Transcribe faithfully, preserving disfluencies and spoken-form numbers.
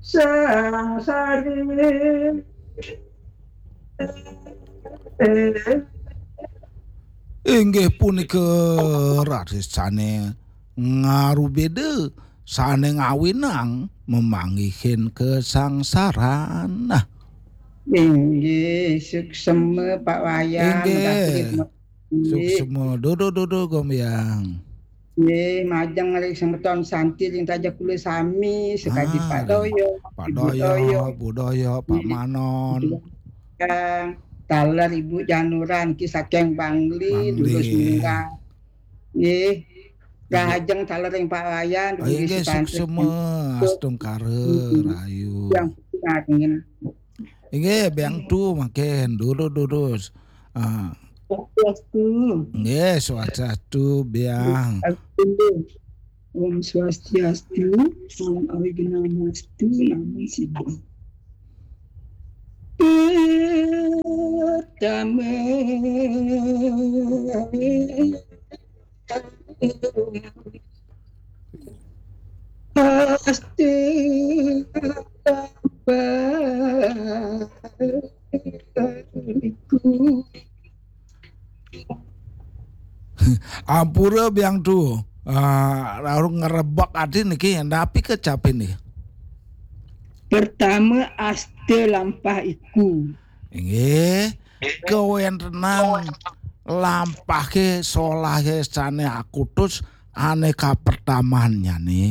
Sangsari. Inggih punika raris sane ngarubeda, sane ngawinang memanggihin kasangsaran. Nah, inggih, suksema Pak Wayan, inggih. Suksema, dudu, dudu, Gombyang. Nggih, majeng ring semeton santi ring taja kula sami, sakadi ah, Pak Doyok, Pak Ibu Doyok, Doyok, Bu Doyok, Pak nggih. Manon. Taler Ibu Januran, ki saking Bangli, Bangli. Durus Murah. Nggih. Rahajeng taler ring Pak Wayan, oh, inggih, suksema, astungkara, mm-mm. Rahayu. Yang penting. Inggih, Biang Tu mangkin, durus-durus. Ah. Swastiastu. Nggih, swastiastu, Biang. Swastiastu. Om Swastiastu, Om Awighnamastu, Namo Siddham. Pertama. Pasti ampura Biang Tu. Ah, lalu ngerebek ati niki, napi kecapi niki? Pertama, asta lampah iku. Inggih, kawentenan lampahke solahe sane akutus ane kapertamannyane.